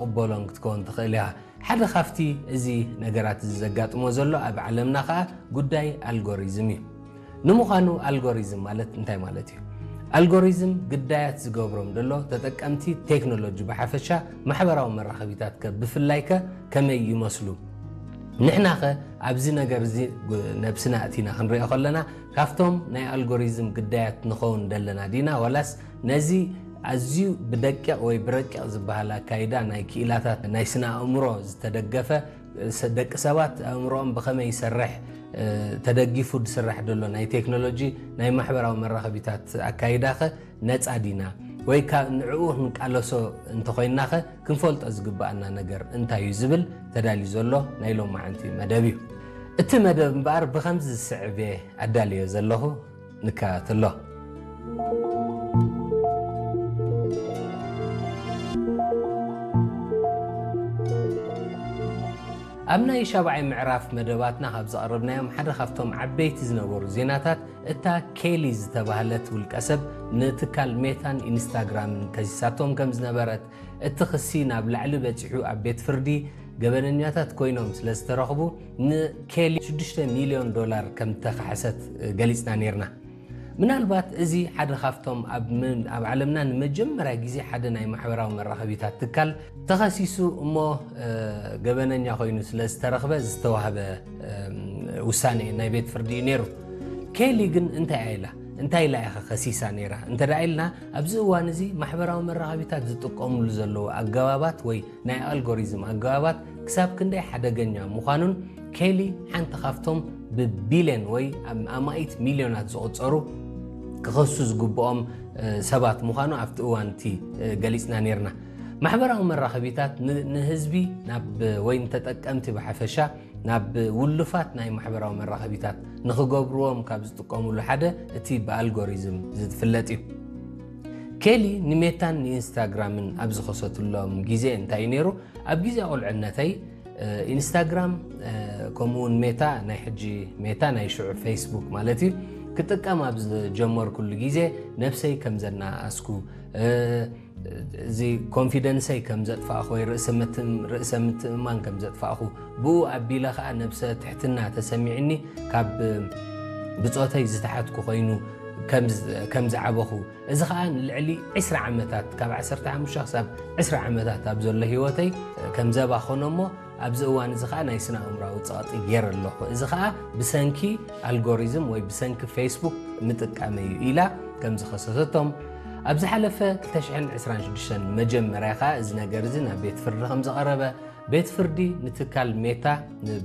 ዘይትቕበሎን ክትከውን ትኽእል ኢኻ። ሓደ ካብቲ እዚ ነገራት እዚ ዘጋጥሞ ዘሎ ኣብ ዓለምና ከኣ ጉዳይ ኣልጎሪዝም እዩ። ንምዃኑ ኣልጎሪዝም ማለት እንታይ ማለት እዩ? ኣልጎሪዝም ግዳያት ዝገብሮም ዘሎ ተጠቀምቲ ቴክኖሎጂ ብሓፈሻ፣ ማሕበራዊ መራኸቢታት ከ ብፍላይ ከ ከመይ ይመስሉ? ንሕና ኸ ኣብዚ ነገር እዚ ነብስና እቲና ክንሪኦ ከለና ካብቶም ናይ ኣልጎሪዝም ግዳያት ንኸውን ደለና ዲና፣ ዋላስ ነዚ ኣዝዩ ብደቂቕ ወይ ብረቂቕ ዝበሃል ኣካይዳ ናይ ክኢላታት ናይ ስነ ኣእምሮ ዝተደገፈ፣ ደቂ ሰባት ኣእምሮኦም ብኸመይ ይሰርሕ ተደጊፉ ዝስራሕ ዘሎ ናይ ቴክኖሎጂ ናይ ማሕበራዊ መራኸቢታት ኣካይዳኸ ነፃ ዲና? ወይ ንዕኡ ክንቃለሶ እንተኾይናኸ ክንፈልጦ ዝግባኣና ነገር እንታይ እዩ ዝብል ተዳልዩ ዘሎ ናይ ሎማዓንቲ መደብ እዩ። እቲ መደብ እምበኣር ብኸምዚ ዝስዕብ እየ ኣዳልዮ ዘለኹ። ንከታተሎ። ኣብ ናይ ሻብዓይ ምዕራፍ መደባትና ካብ ዘቕረብናዮም ሓደ ካብቶም ዓበይቲ ዝነበሩ ዜናታት፣ እታ ኬሊ ዝተባህለት ውልቀ ሰብ ንትካል ሜታን ኢንስታግራምን ከሲሳቶም ከም ዝነበረት፣ እቲ ክሲ ናብ ላዕሊ በጺሑ ኣብ ቤት ፍርዲ ገበነኛታት ኮይኖም ስለ ዝተረኽቡ፣ ንኬሊ ሽዱሽተ ሚልዮን ዶላር ከም ተኻሕሰት ገሊጽና ነይርና። ምናልባት እዚ ሓደ ካብቶም ኣብ ዓለምና ንመጀመርያ ግዜ ሓደ ናይ ማሕበራዊ መራኸቢታት ትካል ተኸሲሱ እሞ ገበነኛ ኮይኑ ስለ ዝተረኽበ ዝተዋህበ ውሳኔ ናይ ቤት ፍርዲ እዩ ነይሩ። ኬሊ ግን እንታይ ኢላ እንታይ ኢላ ኢኻ ከሲሳ ነይራ እንተ ኢልና፣ ኣብዚ እዋን እዚ ማሕበራዊ መራኸቢታት ዝጥቀሙሉ ዘለዉ ኣገባባት ወይ ናይ ኣልጎሪዝም ኣገባባት ክሳብ ክንደይ ሓደገኛ ምዃኑን፣ ኬሊ ሓንቲ ካብቶም ብቢልዮን ወይ ኣማኢት ሚልዮናት ዝቑጸሩ ክኸሱ ዝግብኦም ሰባት ምዃኑ ኣብቲ እዋን እቲ ገሊጽና ነይርና። ማሕበራዊ መራኸቢታት ንህዝቢ ናብ ወይ ንተጠቀምቲ ብሓፈሻ ናብ ውሉፋት ናይ ማሕበራዊ መራኸቢታት ንኽገብርዎም ካብ ዝጥቀሙሉ ሓደ እቲ ብኣልጎሪዝም ዝፍለጥ እዩ። ኬሊ ንሜታን ንኢንስታግራምን ኣብ ዝኸሰትሎም ግዜ እንታይ እዩ ነይሩ? ኣብ ግዜ ቁልዕነተይ ኢንስታግራም ከምኡውን ሜታ፣ ናይ ሕጂ ሜታ፣ ናይ ሽዑ ፌስቡክ ማለት እዩ፣ ክጥቀም ኣብ ዝጀመርኩሉ ግዜ ነብሰይ ከም ዘናኣስኩ፣ እዚ ኮንፊደንሰይ ከም ዘጥፋእኹ ወይ ርእሰ ምትእምማን ከም ዘጥፋእኹ፣ ብኡ ኣቢለ ከዓ ነብሰ ትሕትና ተሰሚዕኒ ካብ ብፆተይ ዝተሓትኩ ኮይኑ ከም ዝዓበኹ፣ እዚ ከዓ ንልዕሊ ዕስራ ዓመታት፣ ካብ ዓሰርተ ሓሙሽተ ክሳብ ዕስራ ዓመታት ኣብ ዘሎ ህይወተይ ከም ዘባኸኖ እሞ ኣብዚ እዋን እዚ ከዓ ናይ ስነ ኣእምራዊ ፀቕጢ ገይረ ኣለኹ። እዚ ከዓ ብሰንኪ ኣልጎሪዝም ወይ ብሰንኪ ፌስቡክ ምጥቃመይ እዩ ኢላ ከም ዝኸሰሰቶም፣ ኣብ ዝሓለፈ ክልተ ሽሕን ዕስራን ሽዱሽተን መጀመርያ ከዓ እዚ ነገር እዚ ናብ ቤት ፍርዲ ከም ዝቐረበ፣ ቤት ፍርዲ ንትካል ሜታ፣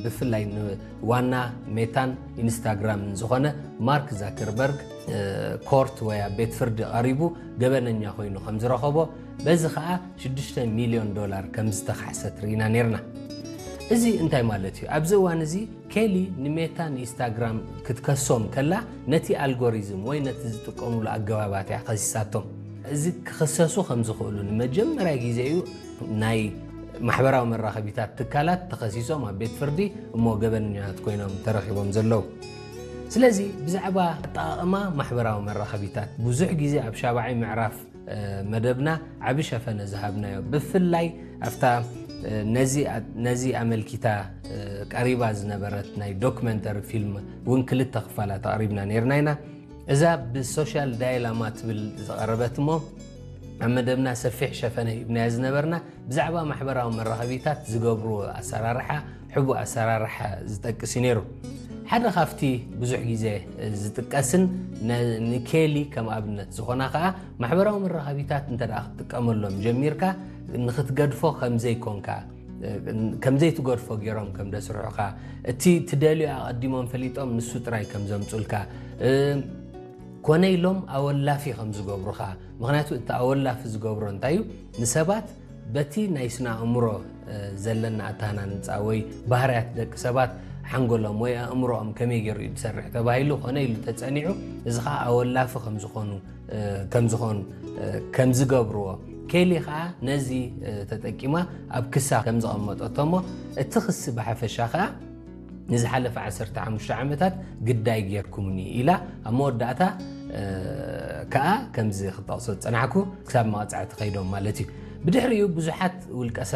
ብፍላይ ንዋና ሜታን ኢንስታግራምን ዝኾነ ማርክ ዛከርበርግ ኮርት ወይ ኣብ ቤት ፍርዲ ቀሪቡ ገበነኛ ኮይኑ ከም ዝረኸቦ፣ በዚ ከዓ ሽዱሽተ ሚልዮን ዶላር ከም ዝተኻሕሰት ርኢና ነይርና። እዚ እንታይ ማለት እዩ? ኣብዚ እዋን እዚ ኬሊ ንሜታ ንኢንስታግራም ክትከሶም ከላ ነቲ ኣልጎሪዝም ወይ ነቲ ዝጥቀሙሉ ኣገባባት እያ ከሲሳቶም። እዚ ክኽሰሱ ከም ዝኽእሉ ንመጀመርያ ግዜ እዩ ናይ ማሕበራዊ መራኸቢታት ትካላት ተኸሲሶም ኣብ ቤት ፍርዲ እሞ ገበነኛታት ኮይኖም ተረኺቦም ዘለዉ። ስለዚ ብዛዕባ ኣጠቓቕማ ማሕበራዊ መራኸቢታት ብዙሕ ግዜ ኣብ ሻብዓይ ምዕራፍ መደብና ዓቢ ሸፈነ ዝሃብናዮ፣ ብፍላይ ኣብታ ነዚ ኣመልኪታ ቀሪባ ዝነበረት ናይ ዶክመንተሪ ፊልም እውን ክልተ ክፋላት ኣቕሪብና ነይርና ኢና። እዛ ብሶሻል ዳይላማ ትብል ዝቐረበት እሞ ኣብ መደብና ሰፊሕ ሸፈነ ሂብናዮ ዝነበርና ብዛዕባ ማሕበራዊ መራኸቢታት ዝገብርዎ ኣሰራርሓ፣ ሕቡእ ኣሰራርሓ ዝጠቅስ እዩ ነይሩ። ሓደ ካብቲ ብዙሕ ግዜ ዝጥቀስን ንኬሊ ከም ኣብነት ዝኾና ከዓ ማሕበራዊ መራኸቢታት እንተ ደኣ ክትጥቀመሎም ጀሚርካ ንኽትገድፎ ከምዘይኮንካ፣ ከምዘይትገድፎ ገይሮም ከም ደስርሑኻ፣ እቲ ትደልዮ ኣቐዲሞም ፈሊጦም ንሱ ጥራይ ከም ዘምጹልካ፣ ኮነ ኢሎም ኣወላፊ ከም ዝገብሩኻ። ምኽንያቱ እቲ ኣወላፊ ዝገብሮ እንታይ እዩ? ንሰባት በቲ ናይ ስነ ኣእምሮ ዘለና ኣተሃናንጻ ወይ ባህርያት ደቂ ሰባት፣ ሓንጎሎም ወይ ኣእምሮኦም ከመይ ገይሩ እዩ ዝሰርሕ ተባሂሉ ኮነ ኢሉ ተጸኒዑ፣ እዚ ኸዓ ኣወላፊ ከም ዝኾኑ ከም ዝኾኑ ከም ዝገብርዎ፣ ኬሊ ኸዓ ነዚ ተጠቂማ ኣብ ክሳ ከም ዘቐመጠቶ እሞ፣ እቲ ክሲ ብሓፈሻ ኸዓ ንዝሓለፈ ዓሰርተ ሓሙሽተ ዓመታት ግዳይ ጌርኩምኒ ኢላ ኣብ መወዳእታ ከኣ ከምዚ ክጠቕሶ ዝጸናሕኩ ክሳብ መቕጻዕቲ ከይዶም ማለት እዩ። ብድሕሪኡ ብዙሓት ውልቀ